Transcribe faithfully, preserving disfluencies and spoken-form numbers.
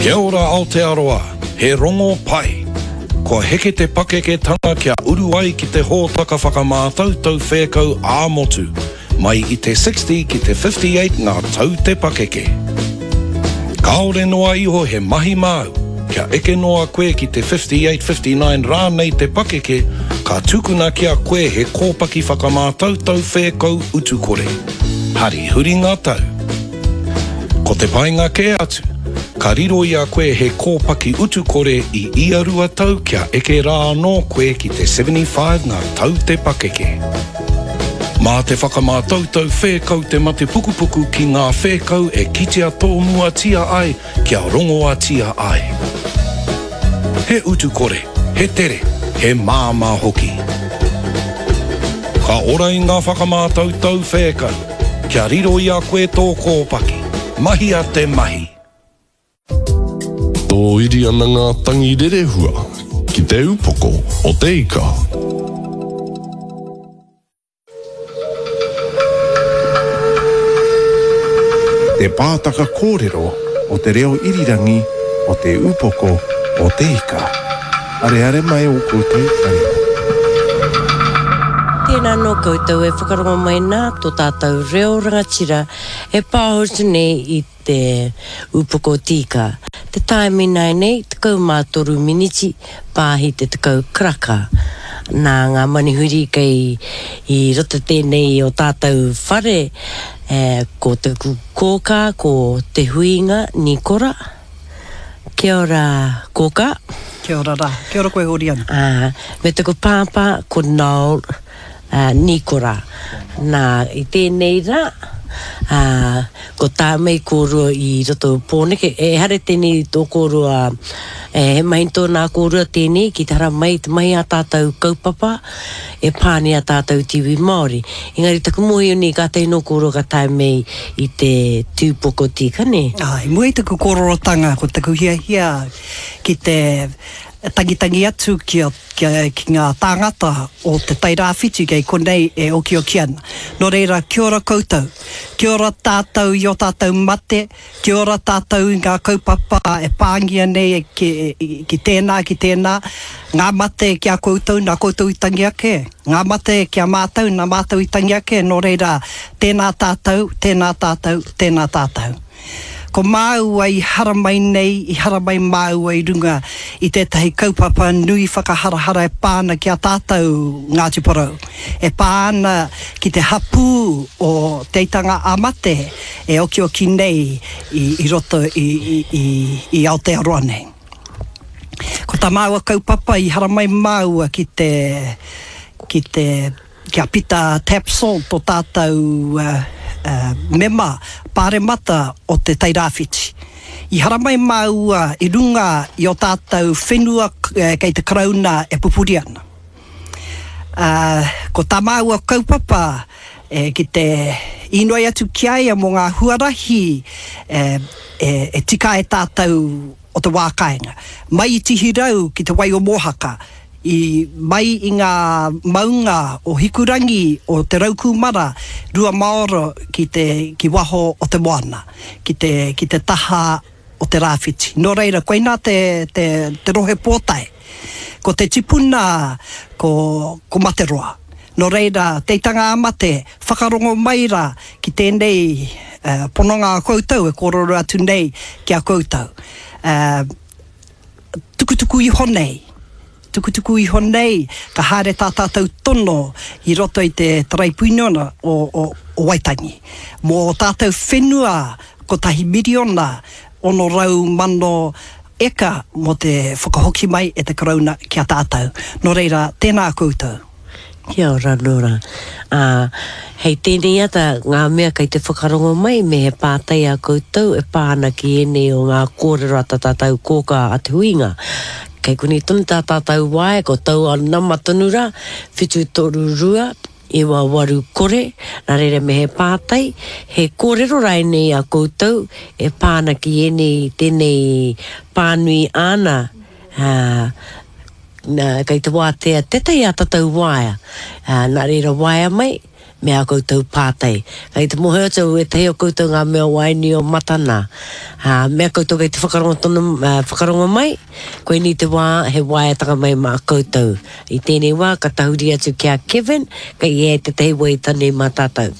Kia ora Aotearoa, he rongo pai. Kua heke te pakeketanga kia uru ai ki te hōtaka whakamātautau whēkau ā-motu, mai i te sixty ki te fifty-eight ngā tau te pakeke. Kāore noa iho he mahi māu, kia eke noa koe ki te fifty-eight fifty-nine rānei te pakeke, ka tukuna ki a koe he kōpaki whakamātautau whēkau utukore. Hari huri ngā tau. Ko te painga kē atu, ka riro i a koe he kōpaki utukore i ia rua tau kia eke rā anō koe ki te seventy-five ngā tau te pakeke. Mā te whakamātautau whēkau te mate pukupuku ki ngā whēkau e kitea tōmuatia ai kia rongoatia ai. He utukore, he tere, he māmā hoki. Ka ora i ngā whakamātautau whēkau, kia riro i a koe tō kōpaki. Mahia te mahi. Tōiri ana ngā tangi rerehua ki te upoko o te ika. Te pātaka kōrero o te reo irirangi o te upoko o te ika. Areare mai o koutou taringa. Tēnā nō koutou e whakarongo mai nā tō tātou reo rangatira e pāhotu nei i te upoko tīka. Te taimi nei nei, tekau mā toru miniti, pāhi te tekau karaka. Nā ngā manihuri kei i roto tēnei o tātou whare, eh, ko te kōkā, ko te huinga, Nikora. Kia ora, kōkā. Kia ora rā. Kia ora koe, Horiana. Ah, me taku pāpā, ko Noel, uh, Nikora. Nā, i tēnei rā, uh, ko tā mei kōrua i roto Pōneke, e hare tēnei tō kōrua, e, he mahi tōnā kōrua tēnei, ki te hara mai te mahi a tātou kaupapa, e pāni a tātou tiwi Māori. Engari taku mohi ni ka tēnō kōrua ka tae mei i te tūpoko tīka, ne? Ai, mua i taku kōrorotanga, ko taku hiahia ki te tangitangi atu ki, a, ki, a, ki ngā tāngata o te Tairāwhiti kei konei e okioki ana. Nō reira, kia ora koutou, kia ora tātou i o tātou mate, kia ora tātou i ngā kaupapa e pāngia nei ki, ki tēnā, ki tēnā, ngā mate ki a koutou, nā koutou i tangi ake, ngā mate ki a mātou, nā mātou i tangi ake, nō reira, tēnā tātou, tēnā tātou, tēnā tātou. Ko māua i haramai nei, i haramai māua i runga i tētahi kaupapa nui whakaharahara e pāna ki a tātou Ngāti Porou. E pāna ki te hapū o Te Aitanga a Mate e okioki nei i, i roto i, i, i, i Aotearoa nei. Ko tā māua kaupapa i haramai māua ki te, ki te, ki a Pita Tapsell tō tātou uh, Uh, mema pāremata o te Tairāwhiti. I haramai māua i runga i o tātou whenua eh, kei te Karauna e pupuri ana. Uh, ko tā māua kaupapa eh, ki te inoi atu ki a ia mō ngā huarahi eh, eh, e tika e tātou o te wā kāinga. Mai i Tihirau ki te wai o Mōhaka, i mai i ngā maunga o Hikurangi o Te Raukūmara, rua maoro ki te ki waho o te moana, ki te, ki te taha o te rāwhiti. Nō reira, koinā te, te, te rohe pōtae. Ko te tipuna, ko, ko Materoa. Nō reira, te Aitanga a Mate, whakarongo mai rā ki tēnei uh, pononga a koutou e kōrero atu nei ki a koutou. Uh, tukutuku iho nei. Tukutuku iho nei, ka haere tā tātou tono i roto i te Taraipiunona o, o, o Waitangi. Mō tātou whenua kotahi miriona ono rau mano eka mō te whakahoki mai e te Karauna ki a tātou. Nō reira, tēnā koutou. Kia ora, Nora. Uh, hei tēnei ata ngā mea kei te whakarongo mai me he pātai a koutou e pā ana ki ēnei o ngā kōrero a tā tātou kōkā a te huinga. Kei kuni tonu tā tātou wae, ko taua nama tonu rā, whitu toru rua, iwa waru kore, nā reira me he pātai, he kōrero rai nei a koutou e pā ana ki ēnei tēnei pānui āna, uh, nā, kei te wātea tētahi a tātou waea. Uh, nā reira waea mai, me ā koutou pātai. Kei te mōhio atu au ētahi o koutou ngā mea waini o Matana. Ā, mea koutou kei te whakarongo tonu, ā, whakarongo mai, koinei te wā he waeatanga mai mā koutou. I tēnei wā ka tahuri atu ki a Kevin, kei ia tētahi waiata nei mā tātou.